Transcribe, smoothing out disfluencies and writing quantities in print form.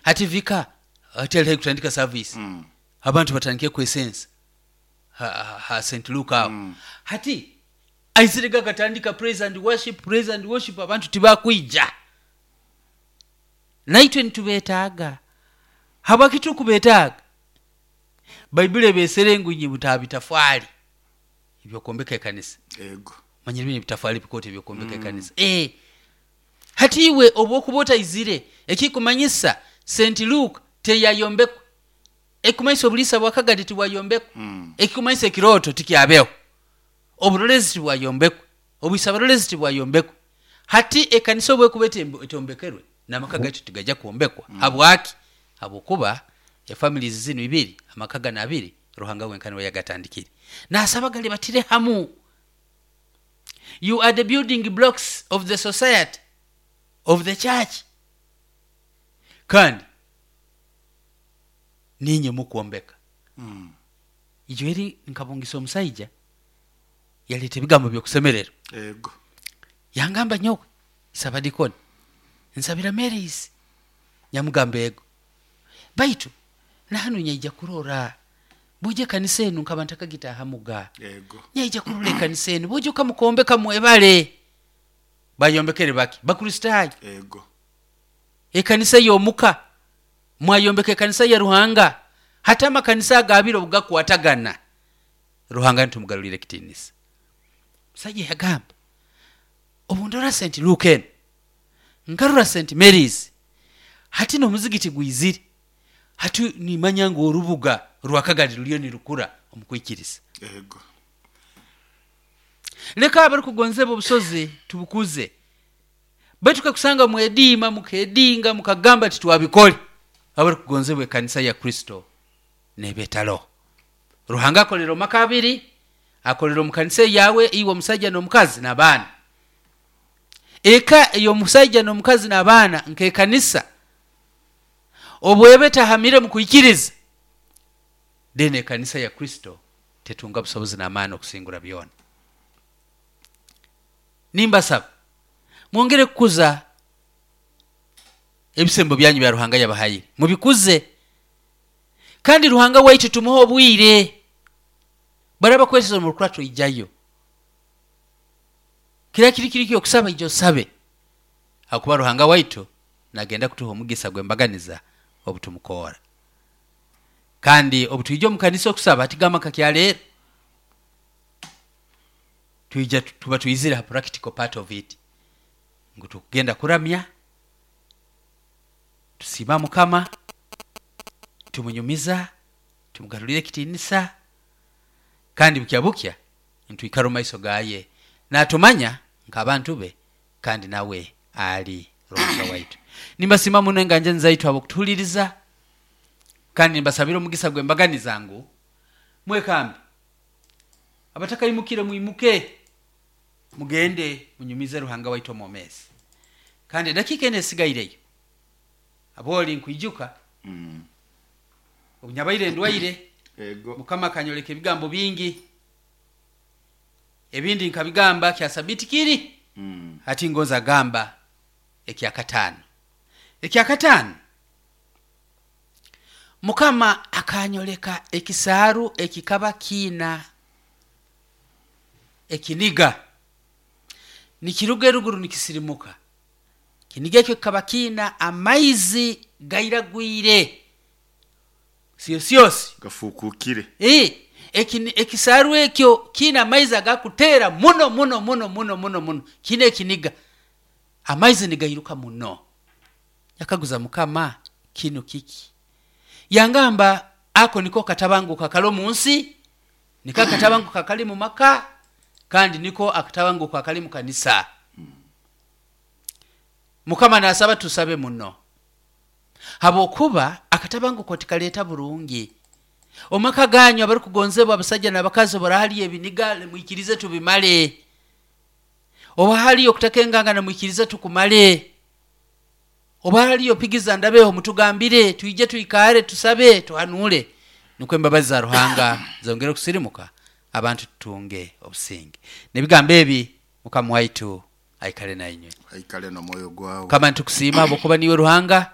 Hati vika hati ali haihi kutandika service. Abantu batandikire kwesensa ha St. Luke aho. Hati aizirege akatandika praise and worship, praise and worship, abantu tibakwija. Naitwe nitubeetaaga. Habwaki turukubetaaga? Baibuli ebeesere ngu inywe mutaha bitafwali eby'okwombeka ekanisa. Ego. Manyire binu ebitafwali ebikooto eby'okwombeka ekanisa. Hati iwe obu okuba otaizire, ekikumanyisa St. Luke teyayombekwa. Ekikumanyisa obuliisa bwa Kagadi tibwayombekwa. Ekikumanyisa ekirooto tikyabeho. Oburolezi tibwayombekwa. Obwisabarolezi tibwayombekwa. Hati ekanisa obu ekuba etombekerwe, n'amaka gaitu tigaija kwombekwa. Habwaki? Habwokuba efamilies zinu ibiri, amaka ganu abiri, Ruhanga wenka nuwe yagatandikire. Naasaba galibatire hamu. You are the building blocks of the society, of the church. Kandi niinywe mukwombeka. Ijo eri nkabungisa omusaija yaleeta ebigambo by'okusemererwa. Ego. Yangamba nyowe Sabadikoni nsabira Mary's. Nyamugamba ego. Baitu nahanu nyaija kurora bwoija ekanisa enu nkaba ntakagitahamuga. Ego. Nyaija kurora ekanisa enu bwoija okamukombeka mwebale. Bayombekere baki? Bakristaayo. Ego. Ekanisa ey'omuka mwayombeka ekanisa ya Ruhanga. Hati amakanisa ago abiri obugakwatagana, Ruhanga nitumugarulira ekitiinisa. Omusaija yagamba, obu ndora St. Luke enu, nkarora St. Mary's, hati n'omuzigiti gwizire, hati nimanya ngu orubuga rwa Kagadi ruriyo nirukura omu kwikiriza. Ego. Leka abarukugonzebwa obusozi tubukuze. Baitu kakusanga mwediima, mukedinga, mukagamba ati twabikole, abarukugonzebwa ekanisa ya Kristo neeba etaroho. Ruhanga akolera omu maka abiri, akolera omu kanisa eyawe iwe omusaija n'omukazi n'abaana. Eka ey'omusaija n'omukazi n'abaana nk'ekanisa obu eba etahamire omu kwikiriza, then ekanisa ya Kristo tetunga busobozi n'amaani okusingura byona. Nimbasaba mwongere kukuza ebisembo byanyu bya Ruhanga yabahaire, mubikuze. Kandi Ruhanga waitu tumuhe obwire. Baraba kweseza omu rukurato ijayo. Kira kiri kiri ky'okusaba ija osabe. Habwokuba Ruhanga waitu nagenda kutuha omugisa gw'embaganiza obu tumukoora. Kandi obu twija omu kanisa okusaba tigamba nka kya leero. Twija tuba twizire ha practical part of it ngu tukugenda kuramya, tusiima Mukama, tumunyumiza, tumugarurira ekitiinisa, kandi bukya bukya nitwikara omu maiso gaye natumanya nk'abantu be kandi nawe ali Ruhanga waitu. Nimbasiima muno enganjani zaitu habw'okutuhuliriza kandi nimbasabira omugisa gw'embaganiza ngu mwekambe. Abatakaimukire mwimuke mugende munyumize Ruhanga waitu omwomeezi. Kandi edakiika enu esigaireyo, aboli nkwijuka obu nyabaire ndwaire, Ego. Mukama akanyoleka ebigambo bingi. Ebindi nkabigamba kya sabiti kiri, hati ngonza gamba ekyakataano. Ekyakataano, Mukama akanyoleka ekisaaru ekikaba kiina ekiniga, nikiruga eruguru nikisirimuka. Ekiniga ekyo kikaba kiina amaizi gairagwire syosyosi. Gafuukukire. Ekisaaru ekyo kiina amaizi agakuteera muno muno muno muno muno muno, kiina ekiniga, amaizi nigairuka muno. Yakaguza Mukama, kinu kiki? Yangamba, ako niko katabanguko akali omu nsi, niko akatabanguko akali mu maka, kandi niko akatabanguko akali mu kanisa. Mukama nasaba tusabe muno, habwokuba akatabanguko tikaleeta burungi. Omu maka ganyu abarukugonzebwa abasaija n'abakazi, obu haliyo ebiniga, mwikirize tubimale. Obu haliyo okutakengangana, mwikirize tukumale. Obu haliyo pigiza ndabeho, mutugambire, twije twikare, tusabe, tuhanuule, nukwo embabazi za Ruhanga zongere okusirimuka, abantu tutunge obusinge. N'ebigambo ebi, Mukama waitu aikale nainywe. Aikale n'omwoyo gwawe. Mukama nitukusiima habwokuba niiwe Ruhanga.